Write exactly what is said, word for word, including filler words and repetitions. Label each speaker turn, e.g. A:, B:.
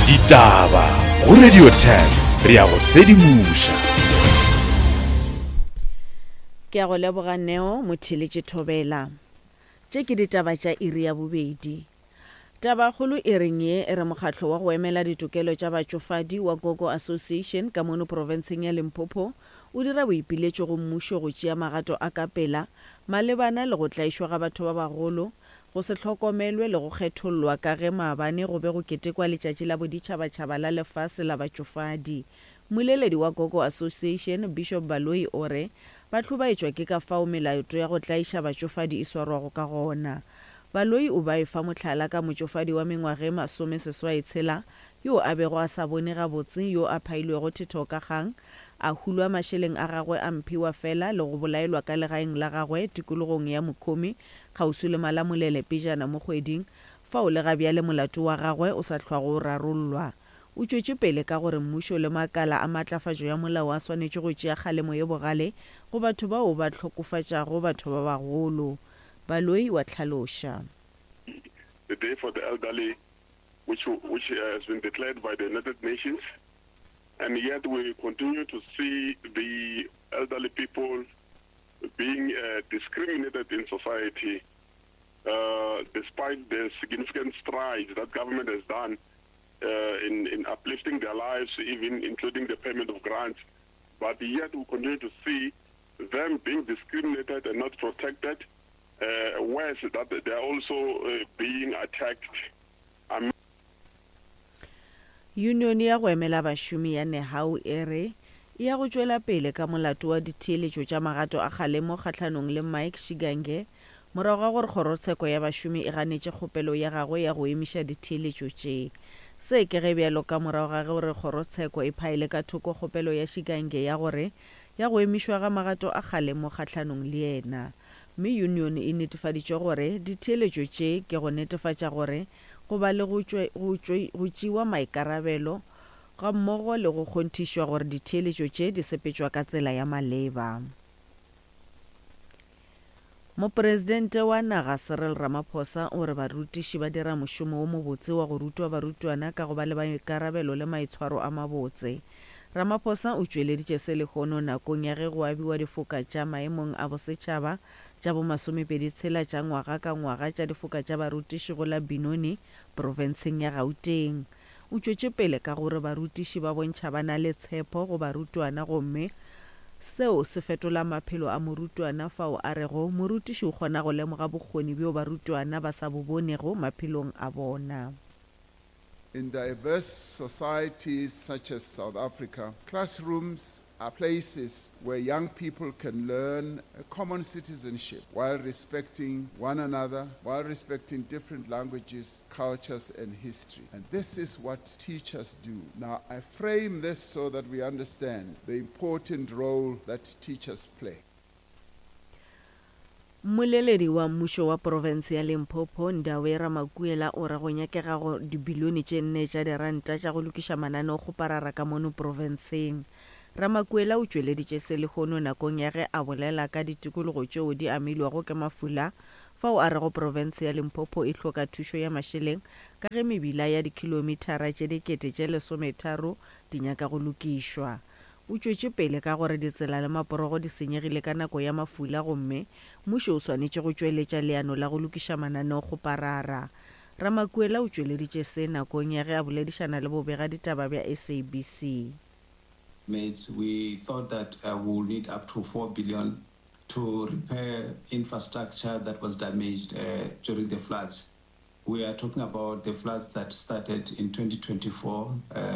A: Ditaba go Radio ten re ya go sedimoša.
B: Ke a go leboga Neo Motheeletše Thobela. Tše ke ditaba tša iri ya bobedi. Tabakgolo e reng ye e re mokgatlo wa go emela ditokelo tša batšofadi wa Gogo Association ka mono profenseng ya Limpopo o dira boipiletšo go mmušo go tšea magato a ka pela malebana le go tlaišwa ga batho ba bagolo, go se hlokomelwe le go kgethollwa ka ge maabane go be go ketekwa letšatši la boditšhabatšhaba la lefase la batšofadi. Mmoleledi wa Gogo Association, Bishop Baloyi o re ba hlobaetšwa ke ka fao melato ya go tlaiša batšofadi e swarwago ka gona. Baloyi o ba efa mohlala ka motšofadi wa mengwaga e masomeseswai tshela yo a bego a sa bone gabotse yo a phailwego thetho ka kgang, a hulwa mašeleng a gagwe a mphiwa fela le go bolaelwa ka legaeng la gagwe tikologong ya Mokhomi kgauswi le Malamulele pejana mo kgweding fao le ga bjale molato wa gagwe o sa hlwago o rarollwa. O tšwetše pele ka gore mmušo le makala a maatlafatšo ya molao a swanetše go tšea kgalemo ye bogale go batho bao ba hlokofatšago batho ba bagolo. Baloyi wa hlaloša.
C: The Day for the Elderly, which, which has been declared by the United Nations, and yet we continue to see the elderly people being, uh, discriminated in society, uh, despite the significant strides that government has done, uh, in, in uplifting their lives, even including the payment of grants. But yet we continue to see them being discriminated and not protected, uh, worse that they are also, uh, being attacked. Um,
B: Union ya go emela bašomi ya Nehau e re e ya go tšwela pele ka molato wa ditheeletšo tša magato a kgalemo kgahlanong le Mike Shigange morago ga gore kgorotsheko ya bašomi e ganetše kgopelo ya gagwe ya go emiša ditheeletšo tše. Se ke ge bjalo ka morago ga gore kgorotsheko e phaile ka thoko kgopelo ya Shigange ya gore ya go emišwa ga magato a kgalemo kgahlanong le yena. Mme union e netefaditše gore ditheeletšo tše ke go netefatša gore go ba le go tšwe, go tšwe, go tšewa maikarabelo ga mmogo le go kgonthišwa gore ditheeletšo tše di sepetšwa ka tsela ya maleba. Mopresidente wa naga Cyril Ramaphosa o re barutiši ba dira mošomo wo mobotse wa go rutwa barutwana ka go ba le maikarabelo le maitshwaro a mabotse. Ramaphosa o tšweleditše se lehono nakong ya ge go abiwa difoka tša maemong a bosetšhaba tša bomasomepedi tshela tša ngwaga ka ngwaga tša difoka tša barutiši go la Benoni profenseng ya Gauteng. O tšwetše pele ka gore barutiši ba bontšha ba na le tshepo go barutwana gomme seo se fetola maphelo a morutwana fao a rego morutiši o kgona go lemoga bokgoni bjo barutwana ba sa bo bonego maphelong a bona.
D: In diverse societies such as South Africa, classrooms are places where young people can learn a common citizenship while respecting one another, while respecting different languages, cultures, and history. And this is what teachers do. Now, I frame this so that we understand the important role that teachers play.
B: Mmoleledi wa mmušo wa profense ya Limpopo Ndawe Ramakuela o re go nyakega go dibilione tše nne tša diranta tša go lokiša mananeokgoparara ka mono profenseng. Ramakuela o tšweleditše se lehono nakong ya ge a bolela ka ditikologo tšeo di amilwego ke mafula fao a rego profense ya Limpopo e hloka thušo ya mašeleng ka ge mebila ya dikilomitara tše dikete tše lesometharo di nyaka go lokišwa. O tšwetše pele ka gore ditsela le maporogo di senyegile ka nako ya mafula gomme mmušo o swanetše go tšweletša leano la go lokiša mananeokgoparara. Ramakuela o tšweleditše se nakong ya ge a boledišana le bobega ditaba bja S A B C.
E: Mates, we thought that, uh, we will need up to four billion to repair infrastructure that was damaged, uh, during the floods. We are talking about the floods that started in twenty twenty-four, uh,